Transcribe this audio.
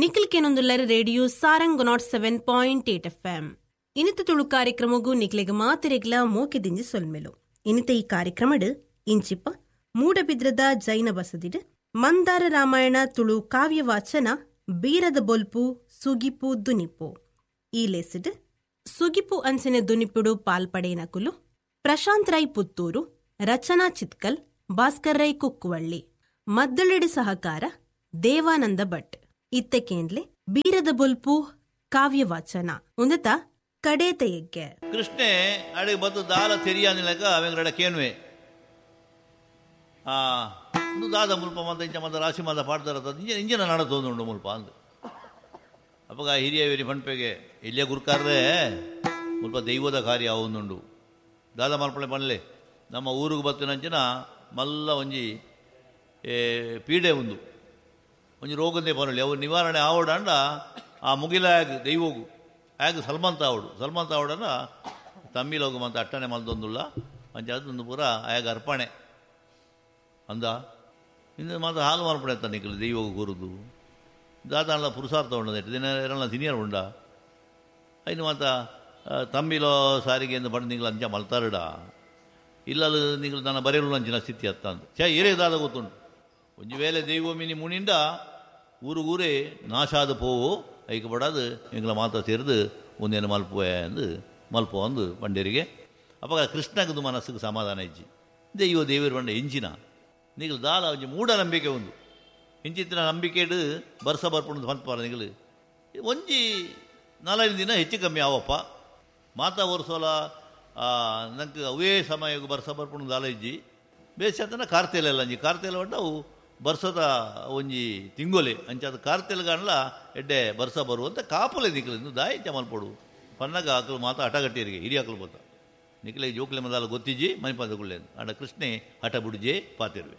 Nikhil ಕೆನೊಂದುಲ್ಲರ್ radio Sarang 107.8 FM. ಇನಿತ ತುಳು ಕಾರ್ಯಕ್ರಮಗೂ ನಿಕ್ಲೆಗ್ ಮಾತೆರೆಗ್ಲ ಮೋಕೆದಿಂಜಿ ಸೊಲ್ಮೆಲು. ಇನಿತ ಈ ಕಾರ್ಯಕ್ರಮಡ್ ಇಂಚಿಪ ಮೂಡಬಿದ್ರದ ಜೈನ ಬಸದಿಡ್ ಮಂದಾರ ರಾಮಾಯಣ ತುಳು ಕಾವ್ಯ ವಾಚನ ಬೀರದ ಬೊಲ್ಪು ಸುಗಿಪು ದುನಿಪು. ಈ ಲೇಸಿಡ್ ಸುಗಿಪು ಅಂಚನೆ ದುನಿಪುಡು ಪಾಲ್ಪಡೇನಕುಲು ಪ್ರಶಾಂತ್ ರೈ ಪುತ್ತೂರು, ರಚನಾ ಚಿತ್ಕಲ್, ಭಾಸ್ಕರ್ ರೈ ಕುಕ್ಕುವಳ್ಳಿ, ಮದ್ದಳೆಡು ಸಹಕಾರ ದೇವಾನಂದ ಭಟ್. ಇತ್ತೆ ಕೇಂದ್ಲೆ ಬೀರದ ಬೊಲ್ಪು ಕಾವ್ಯ ವಾಚನ ಉಂದತ ಕಡೇತ ಯಜ್ಞೆ. ಕೃಷ್ಣೆ ಅಡಿಗೆ ಬತ್ತು ದಾಲ ತೆರಿಯಾನಿಲಕ ಅವೆಂಗಡ ಕೇನ್ವೆ ದಾದ ಮುಲ್ಪ ಮಂತ ಇಂಚ ಮಂತ ರಾಶಿ ಮಂತ ಪಾಡ್ತಾರ ಇಂಜಿನ ನಡತೊಂದುಂಡು ಮುಲ್ಪ ಅಂದು. ಅಪ್ಪಗ ಹಿರಿಯ ವೇರಿ ಪನ್ಪೆಗೆ ಇಲ್ಲೇ ಗುರುಕಾರ್ರೆ ಮುಲ್ಪ ದೈವದ ಕಾರ್ಯ ಅವೊಂದುಂಡು ದಾದ ಮಲ್ಪಳೆ ಪನ್ಲೆ ನಮ್ಮ ಊರಿಗೆ ಬತ್ತಿನಂಚಿನ ಮಲ್ಲ ಒಂಜಿ ಪೀಡೆ ಉಂದು ಒಂಜಿ ರೋಗಂದೇ ಪನೊಲಿ ಅವು ನಿವಾರಣೆ ಆವಡಂಡ ಆ ಮುಗಿಲ ಆಗ ದೈವಗು ಆಗ ಸಲ್ಮಂತ ಆವಡು ಸಲ್ಮಂತ ಆವಡನ ತಮ್ಮಿಲೋಗು ಮಂತ ಅಟ್ಟಣೆ ಮಲ್ದೊಂದುಲ್ಲ ಅಂಚ ಅದೊಂದು ಪೂರ ಆಯಾಗ ಅರ್ಪಣೆ ಅಂದ. ಇನ್ನು ಮಾತ್ರ ಹಾಲು ಮಾರ್ಪಣೆ ಎತ್ತ ನಿಕ್ಕಲು ದೈವಗು ಕೂರುದು ದಾದಾಣಲ ಪುರುಷಾರ್ಥ ಉಂಡ ದಿನ ಎರಳ ತಿನಿಯರ್ ಉಂಡ ಐನು ಮಾತ ತಮ್ಮಿಲೋ ಸಾರಿಗೆ ಎಂದು ಪಂಡು ನಿಂಗಳು ಅಂಚ ಮಲ್ತಾರಡ ಇಲ್ಲಲು ನಿಂಗಳು ನನ್ನ ಬರೆಯಲು ಅಂಚಿನ ಸ್ಥಿತಿ ಅತ್ತ ಅಂದು ಛೇ ಏರೇ ದಾದ ಗೊತ್ತುಂಟು. ಒಂಜಿ ವೇಳೆ ದೈವ ಮಿನಿ ಮುನಿಂಡ ಊರುಗೂರೇ ನಾಶಾದ ಪೋವು ಐಕೆ ಬಡಾದು ಎಂಗಳ ಮಾತ್ರ ಸೇರಿದು ಒಂದೇನು ಮಲ್ಪುವೆ ಅಂದು ಮಲ್ಪು ಅಂದು ಪಂಡೇರಿಗೆ. ಅಪ್ಪ ಕೃಷ್ಣಗದು ಮನಸ್ಸಿಗೆ ಸಮಾಧಾನ ಇಜ್ಜಿ ದೈವ ದೇವರು ಬಂಡ ಎಂಚಿನ ನಿಗಳು ದಾಲ ಒಂಜಿ ಮೂಢನಂಬಿಕೆ ಒಂದು ಇಂಚಿತ್ತಿನ ನಂಬಿಕೆಡು ಬರ್ಸ ಬರ್ಪುಂಡು ಪನ್ಪಾರ ನಿಗಳು ಒಂಜಿ 4-5 ದಿನ ಹೆಚ್ಚು ಕಮ್ಮಿ ಆವಪ್ಪ ಮಾತಾ ವರ್ಷೋಲ ನಂಗೆ ಅವೇ ಸಮಯಕ್ಕೆ ಬರ್ಸ ಬರ್ಪುಂಡು ದಾಲ ಇಜ್ಜಿ ಬೇಸತನ ಕಾರ್ತೆಲೆಲ್ಲ ಅಂಜಿ ಕಾರ್ತೆಲ ಬಂಡ ಅವು ಬರ್ಸದ ಒಂಜಿ ತಿಂಗೊಲೆ ಅಂಚಾದ ಕಾರ್ತೆಲ್ಗಾಣಲ ಎಡ್ಡೆ ಬರ್ಸ ಬರುವಂತ ಕಾಪುಲೆ ನಿಕ್ಲು ದಾಯಿ ಚಮಲ್ಪಡು ಪನ್ನಗ ಆಕಲು ಮಾತಾ ಹಠಗಟ್ಟಿಯರಿಗೆ ಹಿರಿಯ ಆಕಲು ಬೋತ ನಿಕ್ಲೆ ಜೋಕ್ಲೆ ಮದಾಲ ಗೊತ್ತಿಜ್ಜಿ ಮನಿಪಾದಗುಳ್ಳೆ ಅಂಡ ಕೃಷ್ಣೆ ಹಠ ಬುಡಿಜೆ ಪಾತಿರುವೆ.